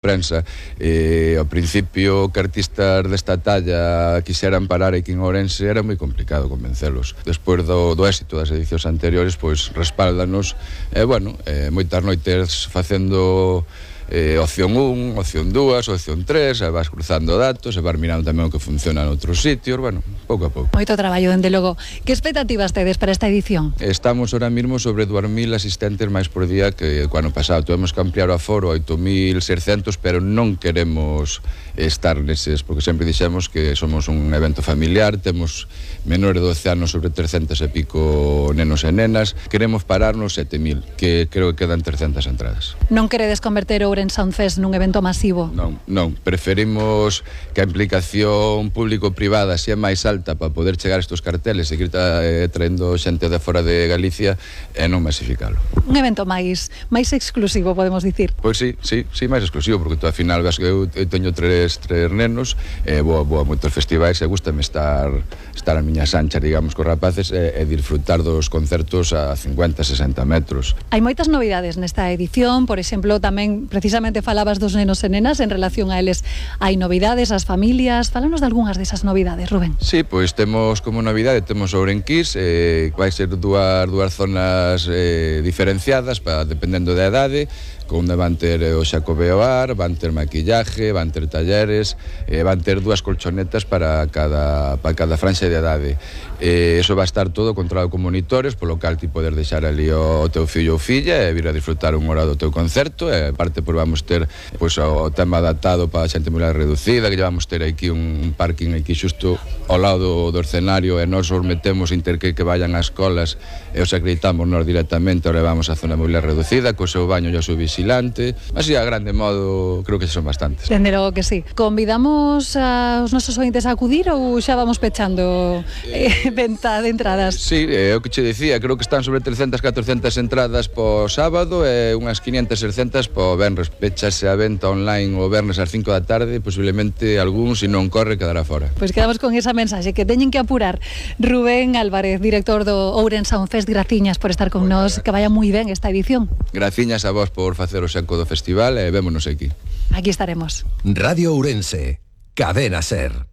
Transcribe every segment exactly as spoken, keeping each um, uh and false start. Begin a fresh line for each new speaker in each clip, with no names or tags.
prensa. Eh, ao principio que artistas desta talla quixeran parar aquí en Ourense era moi complicado convencelos. Despois do, do éxito das edicións anteriores, pois respáldanos e, eh, bueno, eh, moitas noites facendo eh, opción un, opción dúas, opción tres, e vas cruzando datos, e vas mirando tamén o que funciona en outros sitios, bueno, pouco a pouco.
Moito traballo, dende logo. Que expectativas tedes para esta edición?
Estamos ahora mismo sobre dous mil asistentes máis por día que o ano pasado. Tuvemos que ampliar o aforo a oito mil seiscentos, pero non queremos estar neses, porque sempre dixemos que somos un evento familiar, temos menores de doce anos sobre trescentos e pico nenos e nenas, queremos pararnos sete mil, que creo que quedan trescentas entradas.
Non queredes converter Ourense Sound Fest nun evento masivo?
Non, non, preferimos que a implicación público-privada sea máis alta para poder chegar a estes carteles e seguir eh, traendo xente de fora de Galicia e non masificalo.
Un evento máis máis exclusivo, podemos dicir?
Pois sí, sí, sí, máis exclusivo, porque tú ao final ves que eu, eu teño tres, tres nenos, e vou, vou a moitos festivais e gustame estar estar a miña sancha, digamos, cos rapaces e, e disfrutar dos concertos a cincuenta, sesenta metros.
Hai moitas novidades nesta edición, por exemplo, tamén precisamente falabas dos nenos e nenas, en relación a eles hai novidades, as familias, fálanos de algunhas desas novidades, Rubén.
Sí, pois temos como novidade, temos Ourenquís, eh, vai ser dúas, dúas zonas eh, diferenciadas, para, dependendo da edade, onde van ter o Xacobeo Ar, van ter maquillaje, van ter talleres, eh, van ter dúas colchonetas para cada, para cada franxa de idade. Eh, eso va a estar todo controlado con monitores, polo cal ti podes deixar ali o, o teu fillo ou filla e vir a disfrutar un hora do teu concerto, e aparte pois, vamos ter pois, o tema adaptado para a xente moi reducida, que vamos ter aquí un, un parking aquí xusto ao lado do, do escenario, e nós os metemos inter que, que vayan ás escolas e os acreditamos nós directamente, o levamos a zona moi reducida, co seu baño e o seu vigilante, así a grande modo creo que son bastantes.
Dende logo que sí. Convidamos aos nosos ointes a acudir ou xa vamos pechando eh, venta de entradas?
Sí, é o que che dicía, creo que están sobre trescentas, catrocentas entradas po sábado e unhas quinientas, seiscentas po venres. Pechase a venta online o venres ás cinco da tarde, posiblemente algún, se non corre, quedará fora.
Pois quedamos con esa mensaxe, que teñen que apurar. Rubén Álvarez, director do Ourense Sound Fest, graciñas por estar con
bueno,
nós, que vaya moi ben esta edición.
Graciñas a vos por facer o xaco do festival e vémonos aquí.
Aquí estaremos.
Radio Ourense, Cadena Ser.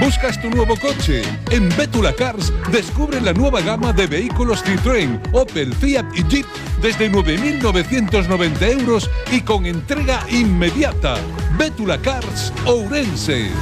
¿Buscas tu nuevo coche? En Bétula Cars descubre la nueva gama de vehículos Citroën, Opel, Fiat y Jeep desde nueve mil novecientos noventa euros y con entrega inmediata. Bétula Cars Ourense.